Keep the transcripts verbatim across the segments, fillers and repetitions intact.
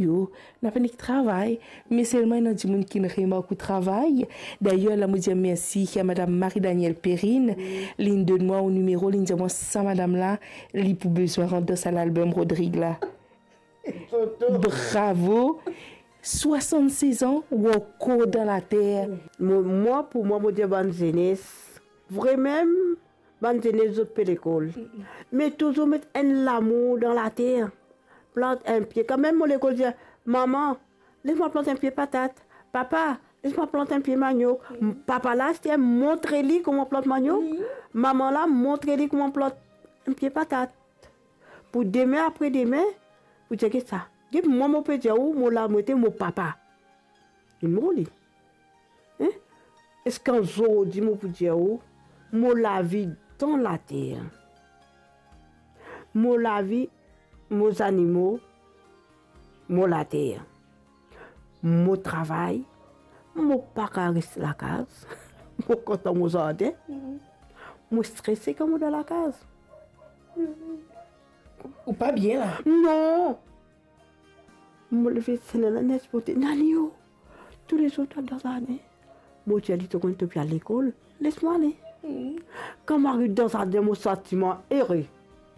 Yo, nou pena nek travay, me selman ena dimoun ki remark ou travay. Dayer, la mo dir mersi a madam Marie Danielle Perrine, linn donn mwa ou nimero, linn dir mwa sa madam la, li pou bizin rant dan sa lalbom Rodrig la. Bravo! Swasann-sez an, ou ankor dan later. Mo, mwa, pou mwa, mo dir bann zenes, vremem, bann zenes, zot pe lekol. Me touzour met enn lamour dan later. Plant enn pie. Kanmem mo lekol dir, "Mama, les mwa plant enn pie patat. Papa, les mwa plant enn pie maniok." Papa la, aster, montre li kouma plant maniok. Mama la, montre li kouma plant enn pie patat. Pou demin, apre demin, pou dir ki sa. Get mwa, mo pe dir ou, mo la, mo ete mo papa. Li mor li. Hein? Eski zordi mo pou dir ou, mo lavi dan later? Mo lavi, mo zanimo, mo later. Mo travay, mo pa kav res lakaz. Mo kontan mo zardin. Mo strese kan mo dan lakaz. Ou pa bien la? Non. Mo leve, se nana nek pote, "Nani o?" Toulezour al dan zardin. Mo dir li, "To konn to pe al lekol, les mwa ale." Kan mo ariv dan zardin, mo santi mwa ere.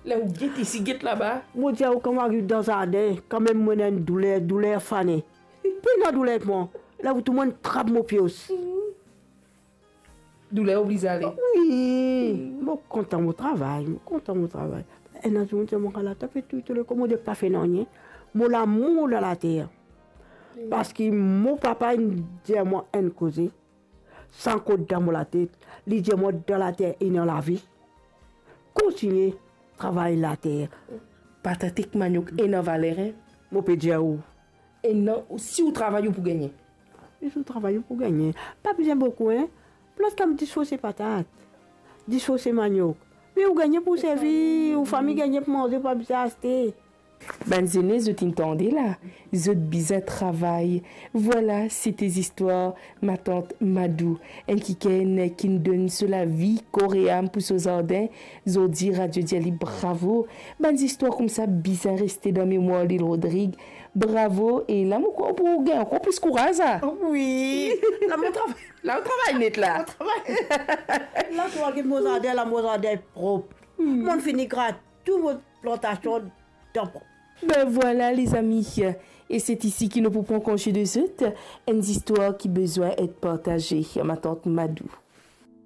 La ou get isi, get laba. Mo dir ou, kan mo ariv dan zardin, kanmem mo ena enn douler, douler fane. Pena douler mwa. La ou tou mo trap mo pios. Douler oblize ale. Wi, mo kontan mo travay, mo kontan mo travay. Ena zour mo dir mwa, "Ala, to pe touy to lekor, mo dir pa fer nanye." Mo lamour dan later. Parski mo papa inn dir mwa enn koze, sa ankor dan mo latet, li dir mwa, "Dan later ena lavi. Kontigne travay later." Patat ek maniok ena valer, hein? Mo pe dir ou. E non, si ou travay, ou pou gagne. Si ou travay, ou pou gagne. Pa bizin boukou, hein. Plas kan dis fose patat, dis fose maniok. Me ou gagne pou servi, ou fami gagne pou manze, pa bizin aste. Bann zenes, zot inn tande la, zot bizin travay. Vwala, sete zistwar matant Madou, enn kikenn ki'nn donn so lavi, kor e am pou so zardin. Zordi, radio dir li bravo. Bann zistwar koumsa bizin reste dan memwar Lil Rodrig. Bravo, e la mo krwar ou pou gagn ankor plis kouraz, a? Wi, la mo travay. La ou travay net la. Mo travay. La, to gete mo zardin, la mo zardin prop. Mo'nn fini grat tou mo plantasion dan prop. Ben vwala, lezami, e se isi ki nou pou pran konze de zot, enn zistwar ki bizin et partaze, matant Madou.